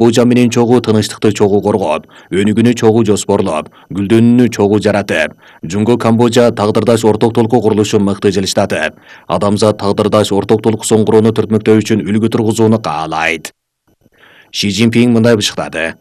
Камбожа менен чогуу тынычтыкты чогуу коргоп, өнүгүүнү чогуу жоспорлоп, гүлдөнүүнү чогуу жаратып, Жунго Камбожа тагдырдаш орток толку курулушун мыкты жылыштатып, адамзат тагдырдаш орток толкусун курууну түртмөктөө үчүн үлгү тургузууну каалайт. Ши Цзиньпин мындай бышыктады.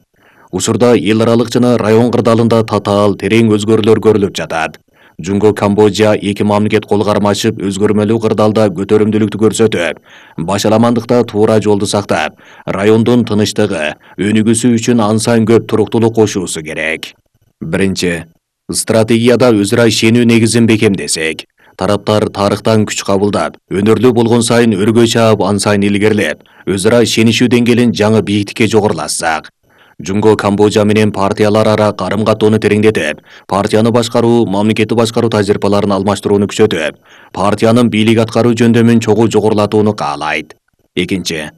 Учурда эл аралык жана район кырдаалында татаал, терең өзгөрүүлөр көрүлүп жатат. Жунго Камбожа эки мамлекет кол кармашып, өзгөрмөлүү кырдаалда көтөрүмдүүлүктү көрсөтүп, башаламандыкта туура жолду сактап, райондун тынычтыгы, өнүгүүсү үчүн ан сайын көп туруктуулук кошуусу керек. Биринчи, стратегияда өзара ишенүү негизин бекемдесек, тараптар тарыхтан күч кабылдап, өнөрлүү болгон сайын өргө чаап, ан сайын илгерилеп, өзара ишенишүү деңгээлин жаңы бийиктикке жогорулатсак, Жунго Камбожа менен партиялар ара карым-каттоону тереңдетип, партияны башкаруу, мамлекетти башкаруу тажрыйбаларын алмаштырууну күчөтүп, партиянын бийлик аткаруу жөндөмүн чогуу жогорулатууну каалайт. Экинчи,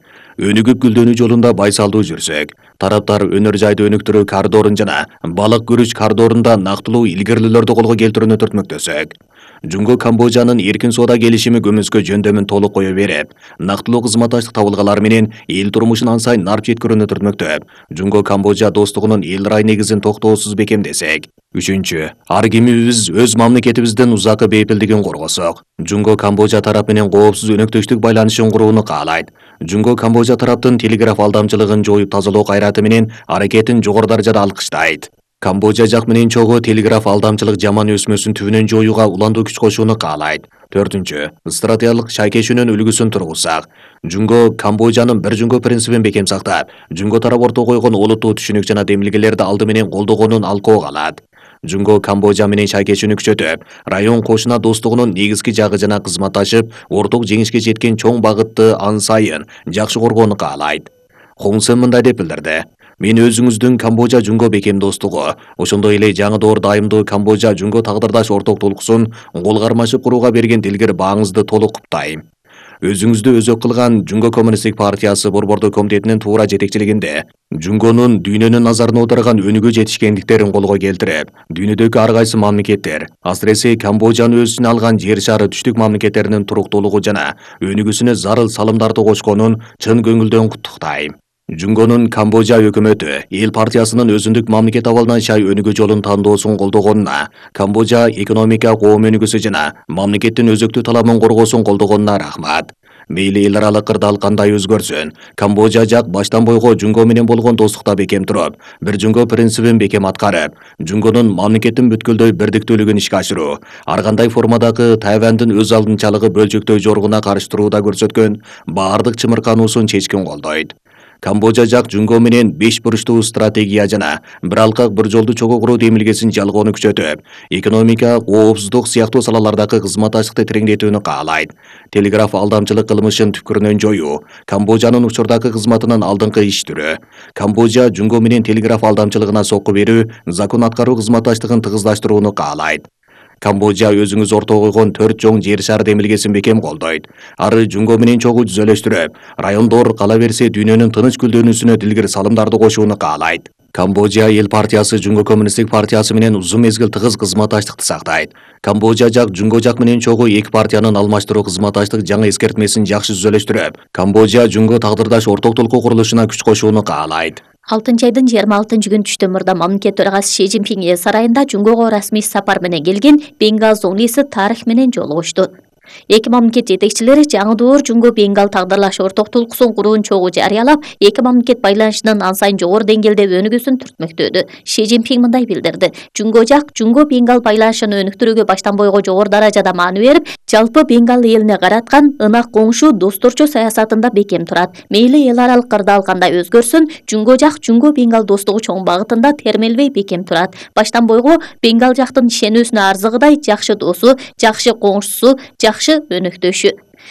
өнүгүп гүлдөнүү жолунда байсалдуу жүрсөк, тараптар өнөр жайды өнүктүрүү коридорун жана балык күрүч коридорунда нактылуу илгерилүүлөрдү колго келтирүүнү түртмөктөсөк, Жунго Камбожанын эркин соода келишими көмүскө жөндөмүн толук кое берип, нактылуу кызматташтык табылгалар менен эл турмушун ан сайын нарп жеткирүүнү түртмөктөп, Жунго Камбожа достугунун эл рай негизин токтоосуз бекемдесек. Үчүнчү, ар кимибиз өз мамлекетибиздин узакы бейпилдигин коргосок, Жунго Камбожа тарап менен коопсуз өнөктөштүк байланышын курууну каалайт. Жунго Камбожа тараптын телеграф алдамчылыгын жоюп тазалоо кайраты менен аракетин жогору даражада алкыштайт. Камбожа жак менен чогуу телеграф алдамчылык жаман өсмөсүн түбүнөн жоюуга уландуу күч кошууну каалайт. Төртүнчү, стратегиялык шайкешүүнүн үлгүсүн тургузсак, Жунго Камбожанын бир Жунго принцибин бекем сактап, Жунго тарап ортого койгон олуттуу түшүнүк жана демилгелерди алды менен колдогонун алкоо калат. Жунго Камбожа менен шайкешүүнү күчөтүп, район кошуна достугунун негизги жагы жана кызматташып, орток жеңишке жеткен чоң багытты ан сайын жакшы коргоону каалайт. Хун Сен мындай деп билдирди. Мен өзүңүздүн Камбожа Жунго бекем достугу, ошондой эле жаңы доор дайымдуу Камбожа Жунго тагдырдаш орток толкусун кол кармашып курууга берген дилгир бааңызды толук куттайм. Өзүңүздү өзөк кылган Жунго Коммунисттик партиясы борбордуу комитетинин туура жетекчилигинде Жунгонун дүйнөнүн назарына отурган өнүгүү жетишкендиктерин колго келтирип, дүйнөдөгү ар кайсы мамлекеттер, асыресе Камбожаны өз ичине алган жер шары түштүк мамлекеттеринин туруктуулугу жана өнүгүүсүнө зарыл салымдарды кошконун чын көңүлдөн куттуктайм. Жунгонун Камбожа өкмөтү эл партиясынын өзүндүк мамлекет абалынан шай өнүгүү жолун тандоосун колдогонуна, Камбожа экономика коом өнүгүүсү жана мамлекеттин өзөктүү талабын коргоосун колдогонуна рахмат. Мейли эл аралык кырдаал кандай өзгөрсүн, Камбожа жак баштан бойго Жунго менен болгон достукта бекем туруп, бир Жунго принцибин бекем аткарып, Жунгонун мамлекеттин бүткүлдөй бирдиктүүлүгүн ишке ашыруу, ар кандай формадагы Тайвандын өз алдынчалыгы бөлчөктөй жоргуна каршы турууда көрсөткөн баардык чымыркануусун чечкин колдойт. Камбожа жак Жунго менен 5 буручтуу стратегия жана бир алкак бир жолду чогуу куруу демилгесин жалгоону күчөтүп, экономика, коопсуздук сыяктуу салалардагы кызматташтыкты тереңдетүүнү каалайт. Телеграф алдамчылык кылмышын түпкүрүнөн жоюу, Камбожанын учурдагы кызматынын алдыңкы иш түрү, Камбожа Жунго менен телеграф алдамчылыгына сокку берүү, закон аткаруу кызматташтыгын тыгыздаштырууну каалайт. Камбожа өзүңүз ортого койгон 4 чоң жер шары демилгесин бекем колдойт. Ары Жунго менен чогуу түзөлөштүрүп, райондор кала берсе дүйнөнүн тыныч гүлдөнүүсүнө дилгир салымдарды кошууну каалайт. Камбожа эл партиясы Жунго Коммунисттик партиясы менен узун мезгил тыгыз кызматташтыкты сактайт. Камбожа жак Жунго жак менен чогуу эки партиянын алмаштыруу кызматташтык жаңы эскертмесин жакшы түзөлөштүрүп, Камбожа Жунго тагдырдаш орток толку курулушуна күч кошууну каалайт. 6-айдын 26-күнү түштө мурда мамлекет төрагасы Ши Цзиньпин эл сарайында Жунгого расмий сапар менен келген Бенгал зоңлиси тарих менен жолугушту. Эки мамлекет жетекчилери жаңы доор Жунго Бенгал тагдырлаш орток толкусун курууну чогуу жарыялап, эки мамлекет байланышынын ан сайын жогору деңгээлде өнүгүүсүн түртмөктөдү. Ши Цзиньпин мындай билдирди. Жунго жак Жунго Бенгал байланышын өнүктүрүүгө баштан бойго жогору даражада маани берип, жалпы Бенгал элине караткан ынак коңшу досторчу саясатында бекем турат. Мейли эл аралык кырдаал кандай өзгөрсүн, Жунго жак Жунго Бенгал достугу чоң багытында термелбей бекем турат. Баштан бойго Бенгал жактын ишенүүсүнө арзыгыдай жакшы досу, жакшы коңшусу, жакшы өнөктөшү.